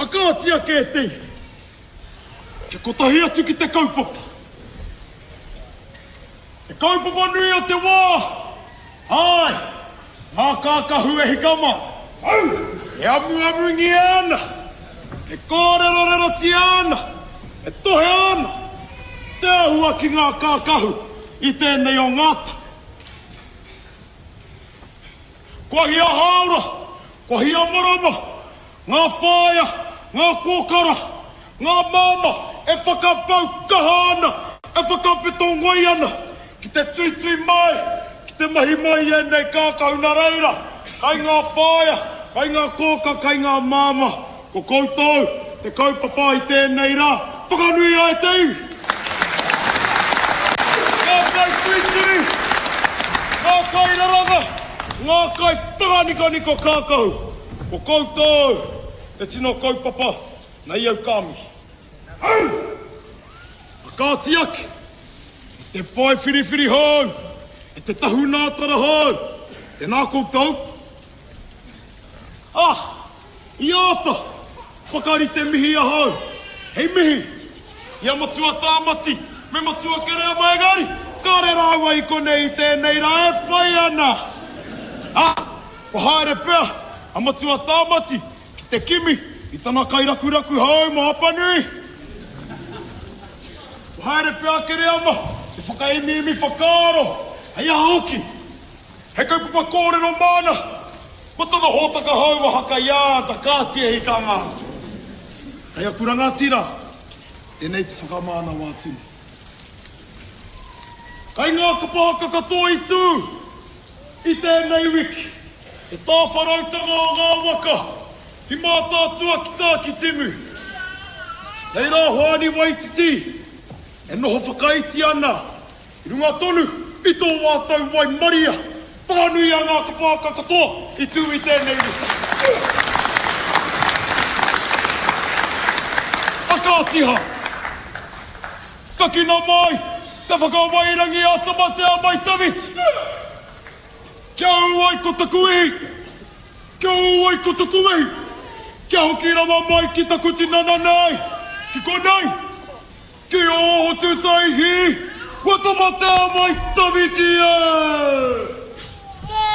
A kāti ake e te iwi, kia kotahi atu ki te kaupapa. Te kaupapa nui o te wā, āe, ngā kākahu e hika mā, au, e amuamungia ana, e kōrerorerotia ana, e tohea ana te āhua ki ngā kākahu i tēnei o ngā tau. Kua hia hāora, kua hia marama, ngā whāea, ngā kōkara, ngā māmā e whakapau kaha ana, e whakapeto ngoi ana ki te tuitui mai, ki te mahi mai i ēnei kākahu nā reira, kai ngā whāea, kai ngā kōka, kai ngā māmā, ko koutou te kaupapa i tēnei rā, whakanuia e te iwi! Ngā kaituitui, ngā kairaranga, ngā kaiwhakanikoniko kākahu, ko koutou te tino kaupapa nei au ka mihi. Au! A kāti ake, e te pae whiriwhiri hou, e te tahunātara hou, tēnā koutou. Ah! I āta whakarite mihi ahau, hei mihi i a Matua Tāmati me Matua Kereama engari, kāre rāua i konei i tēnei rā e pai ana. Ā, kua haere pea a Matua Tāmati ki te kimi i tana kairakuraku hou mō Apanui. Kua haere pea a Kereama te whakaemiemi whakaaro, hei aha hoki, He kaupapa kōrero māna mō tana hōtaka hou a Haka i āta kāti e hikanga. Kei aku rangatira, tēnei te whakamānawa atu nei. Kei ngā kapa haka katoa i tū i tēnei wiki, te tāwharautanga o ngā waka ki Mātaatua ki Tākitimu. Kei rā Hoani Waititi e noho whakaiti ana I runga tonu i tō mātou waimaria whānui a ngā kapāka katoa i tū i tēnei wiki. A kāti hā! Takina mai te whakawairangi a Tamatea mai Tawhiti! Kia ū ai ko taku ihi! Kia ū ai ko taku wehi! Kia hoki rawa mai ki taku tinana nei, ki konei! Ki ō Hotutaihi, kua tamatea mai tawhiti e!